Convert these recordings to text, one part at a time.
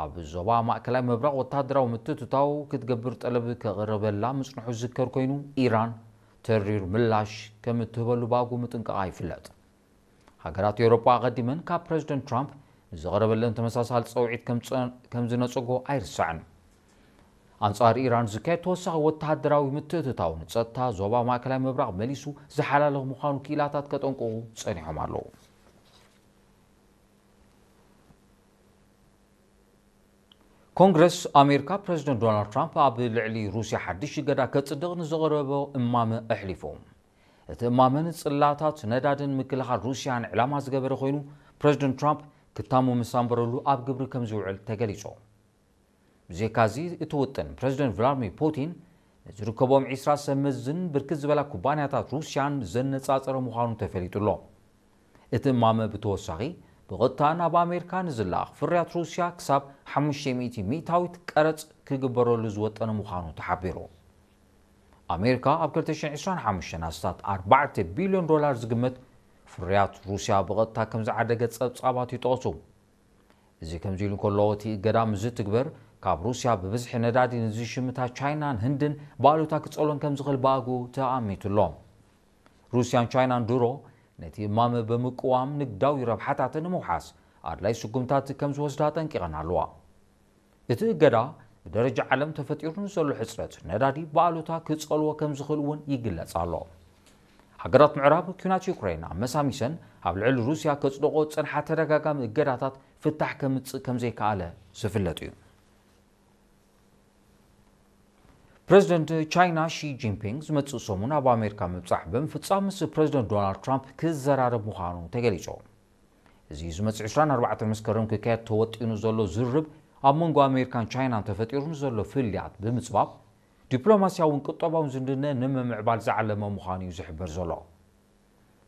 ኣብ ዞባ ማእከላይ ምብራቕ ወተሃደራዊ ምትእትታው ክትገብር ጠለብ ከቕርበላ ምጽንሑ ዝዝከር ኮይኑ፣ ኢራን ተሪር ምላሽ ከም እትህበሉ ብኣግኡ ምጥንቃቓ ይፍለጥ። ሃገራት ኤውሮጳ ኣቐዲመን ካብ ፕረዚደንት ትራምፕ ንዝቐረበለን ተመሳሳሊ ጸውዒት ከም ዝጸ-፣ ከም ዝነጸጎ ኣይርሳዕን። ኣንጻር ኢራን ዝካየድ ተወሳኺ ወተሃደራዊ ምትእትታው ንጸጥታ ዞባ ማእከላይ ምብራቕ መሊሱ ዝሓላልኽ ምዃኑ ክኢላታት ከጠንቅቑ ጸኒሖም ኣለዉ። ኮንግረስ ኣሜሪካ ፕረዚደንት ዶናልድ ትራምፕ ኣብ ልዕሊ ሩስያ ሓድሽ እገዳ ከጽድቕ ንዘቕረቦ እማመ ኣሕሊፉ። እቲ እማመ ንጽላታት ነዳድን ምክልኻል ሩስያን ዕላማ ዝገበረ ኮይኑ፣ ፕረዚደንት ትራምፕ ክታሙ ምስ ኣንበረሉ ኣብ ግብሪ ከም ዝውዕል ተገሊጹ። ብዘይካዚ፣ እቲ ውጥን ፕረዚደንት ቭላድሚር ፑቲን ንዝርከቦም ዒስራ ሰብ መዝን ብርክት ዝበላ ኩባንያታት ሩስያን ዘነጻጸረ ምዃኑ ተፈሊጡ ኣሎ። እቲ እማመ ብተወሳኺ ብቐጥታ ናብ ኣሜሪካ ንዝለኣኽ ፍርያት ሩስያ ክሳብ ሓሙሽተ ሚእቲ ሚእታዊት ቀረጽ ክግበረሉ ዝወጠነ ምዃኑ ተሓቢሩ። ኣሜሪካ ኣብ ክልተ ሽሕን ዕስራን ሓሙሽተን ኣስታት ኣርባዕተ ቢልዮን ዶላር ዝግመት ፍርያት ሩስያ ብቐጥታ ከም ዝዓደገ ጸብጻባት ይጠቕሱ። እዚ ከምዚ ኢሉ እንከሎ፣ እቲ እገዳ ምስ ዝትግበር፣ ካብ ሩስያ ብብዝሒ ነዳዲ ንዝሽምታ ቻይናን ህንድን ብኣሉታ ክጸልወን ከም ዝኽእል ብኣግኡ ተኣሚቱ ኣሎ። ሩስያን ቻይናን ድሮ ነቲ እማመ ብምቅዋም ንግዳዊ ረብሓታተን ንምውሓስ ኣድላይ ስጉምታት ከም ዝወስዳ ኣጠንቂቐን ኣለዋ። እቲ እገዳ ብደረጃ ዓለም ተፈጢሩ ንዘሎ ሕጽረት ነዳዲ ብኣሉታ ክጸልዎ ከም ዝኽእል እውን ይግለጽ ኣሎ። ሃገራት ምዕራብ፣ ኲናት ዩክሬን ኣመሳሚሰን ኣብ ልዕሊ ሩስያ ከጽድቆ ዝጸንሓ ተደጋጋሚ እገዳታት ፍታሕ ከምጽእ ከም ዘይከኣለ ዝፍለጥ እዩ። ፕረዚደንት ቻይና ሺ ጂንፒንግ ዝመጽእ ሰሙን ኣብ ኣሜሪካ ምብጻሕ ብምፍጻም ምስ ፕረዚደንት ዶናልድ ትራምፕ ክዘራረብ ምዃኑ ተገሊጹ። እዚ ዝመጽእ ዕስራን ኣርባዕተን መስከረም ክካየድ ተወጢኑ ዘሎ ዝርርብ ኣብ መንጎ ኣሜሪካን ቻይናን ተፈጢሩ ንዘሎ ፍልልያት ብምጽባብ ዲፕሎማስያውን ቁጠባውን ዝምድነ ንምምዕባል ዝዓለመ ምዃኑ እዩ ዝሕበር ዘሎ።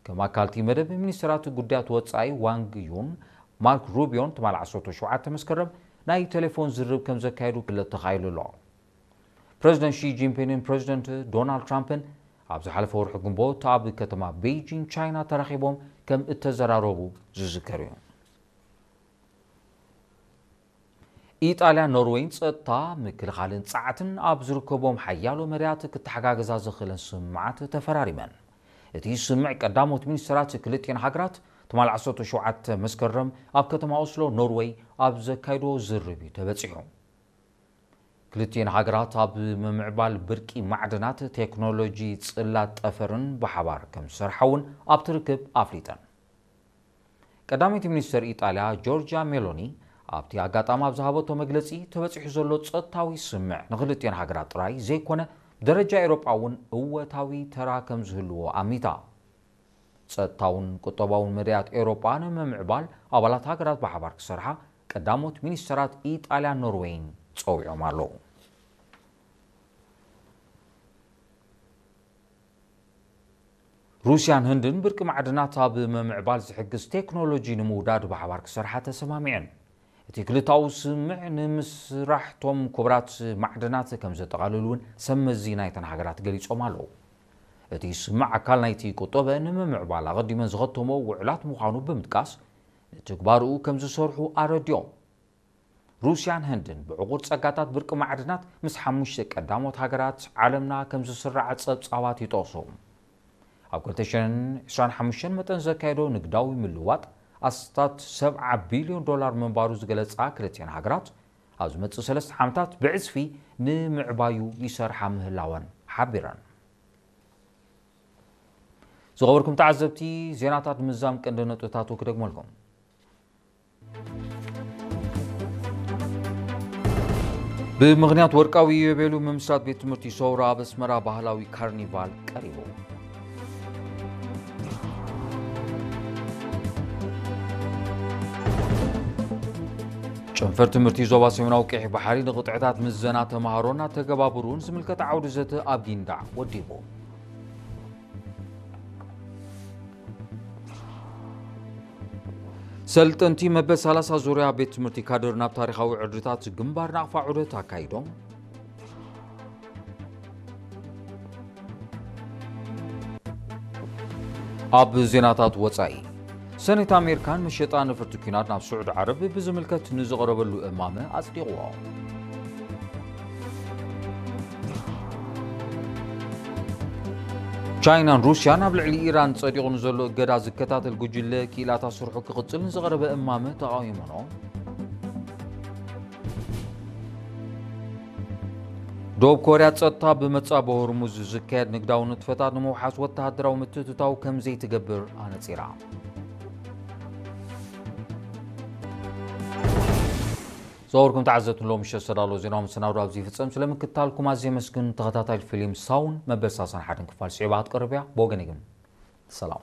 ከም ኣካል እቲ መደብ፣ ሚኒስትራት ጉዳያት ወጻኢ ዋንግ ዩን ማርክ ሩቢዮን ትማል ዓሰርተ ሸውዓተ መስከረም ናይ ቴሌፎን ዝርርብ ከም ዘካየዱ ክፍለጥ ተኻኢሉ ኣሎ። ፕረዚደንት ሺ ጂንፒንግን ፕረዚደንት ዶናልድ ትራምፕን ኣብ ዝሓለፈ ወርሒ ግንቦት ኣብ ከተማ ቤይጂንግ ቻይና ተራኺቦም ከም እተዘራረቡ ዝዝከር እዩ። ኢጣልያን ኖርወይን ጸጥታ፣ ምክልኻልን ጸዓትን ኣብ ዝርከቦም ሓያሎ መዳያት ክተሓጋገዛ ዘኽእለን ስምምዓት ተፈራሪመን። እቲ ስምምዕ ቀዳሞት ሚኒስትራት ክልቲኤን ሃገራት ትማል ዓሰርተ ሸውዓተ መስከረም ኣብ ከተማ ኦስሎ ኖርወይ ኣብ ዘካይዶ ዝርርብ እዩ ተበጺሑ። ክልቲኤን ሃገራት ኣብ ምምዕባል ብርቂ ማዕድናት፣ ቴክኖሎጂ ጽላት ጠፈርን ብሓባር ከም ዝሰርሓ እውን ኣብቲ ርክብ ኣፍሊጠን። ቀዳመይቲ ሚኒስተር ኢጣልያ ጆርጅያ ሜሎኒ ኣብቲ ኣጋጣሚ ኣብ ዝሃበቶ መግለጺ፣ ተበጺሑ ዘሎ ጸጥታዊ ስምምዕ ንክልቲኤን ሃገራት ጥራይ ዘይኮነ፣ ብደረጃ ኤውሮጳ እውን እወታዊ ተራ ከም ዝህልዎ ኣሚታ። ጸጥታውን ቁጠባውን መዳያት ኤውሮጳ ንምምዕባል ኣባላት ሃገራት ብሓባር ክሰርሓ ቀዳሞት ሚኒስተራት ኢጣልያን ኖርዌይን ጸዊዖም ኣለዉ። ሩስያን ህንድን ብርቂ ማዕድናት ኣብ ምምዕባል ዝሕግዝ ቴክኖሎጂ ንምውዳድ ብሓባር ክሰርሓ ተሰማሚዐን። እቲ ክልታዊ ስምምዕ ንምስራሕቶም ክቡራት ማዕድናት ከም ዘጠቓልል እውን ሰብ መዚ ናይተን ሃገራት ገሊጾም ኣለዉ። እቲ ስምምዕ ኣካል ናይቲ ቁጠበ ንምምዕባል ኣቐዲመን ዝኸተሞ ውዕላት ምዃኑ ብምጥቃስ፣ ንትግባርኡ ከም ዝሰርሑ ኣረዲኦም። ሩስያን ህንድን ብዕቑር ጸጋታት ብርቂ ማዕድናት ምስ ሓሙሽተ ቀዳሞት ሃገራት ዓለምና ከም ዝስራዓ ጸብጻባት ይጠቕሱ። ኣብ ክልተ ሽሕን ዕስራን ሓሙሽተን መጠን ዘካየዶ ንግዳዊ ምልዋጥ ኣስታት ሰብዓ ቢልዮን ዶላር ምንባሩ ዝገለጻ ክልቲኤን ሃገራት፣ ኣብ ዝመጽእ ሰለስተ ዓመታት ብዕጽፊ ንምዕባዩ ይሰርሓ ምህላወን ሓቢረን። ዝኸበርኩም ተዓዘብቲ፣ ዜናታት ምዛም ቀንዲ ነጥብታቱ ክደግመልኩም። ብምኽንያት ወርቃዊ ኢዮቤሉ ምምስራት ቤት ትምህርቲ ሰውራ ኣብ ኣስመራ ባህላዊ ካርኒቫል ቀሪቡ። ጨንፈር ትምህርቲ ዞባ ሰሜናዊ ቀይሕ ባሕሪ ንቕጥዕታት ምዘና ተምሃሮን ኣተገባብርኡን ዝምልከት ዓውዲ ዘተ ኣብ ጊንዳዕ ወዲቡ። ሰልጠንቲ መበል ሰላሳ ዙርያ ቤት ትምህርቲ ካድር ናብ ታሪኻዊ ዕርድታት ግንባር ናቕፋ ዑደት ኣካይዶም። ኣብ ዜናታት ወጻኢ፣ ሰኔት ኣሜሪካን መሸጣ ነፈርቲ ኲናት ናብ ስዑዲ ዓረብ ብዝምልከት ንዝቐረበሉ እማመ ኣጽዲቕዎ። ቻይናን ሩስያን ኣብ ልዕሊ ኢራን ጸዲቑ ንዘሎ እገዳ ዝከታተል ጉጅለ ክኢላታት ስርሑ ክቕጽል ንዝቐረበ እማመ ተቓዊሞኖ። ደቡብ ኮርያ ጸጥታ ብመጻ ብሆርሙዝ ዝካየድ ንግዳዊ ንጥፈታት ንምውሓስ ወተሃደራዊ ምትእትታው ከም ዘይትገብር ኣነጺራ። ዝኸበርኩም ተዓዘብቲ፣ ሎም ምሸት ዝተዳለወ ዜናዊ መሰናዶ ኣብዚ ይፍጸም። ስለምክትታልኩም ኣዝየ የመስግን። ተኸታታሊ ፊልም ሳውን መበል ሰላሳን ሓደን ክፋል ስዒባ ክትቀርብ እያ። ብወገነይ ግን ሰላም።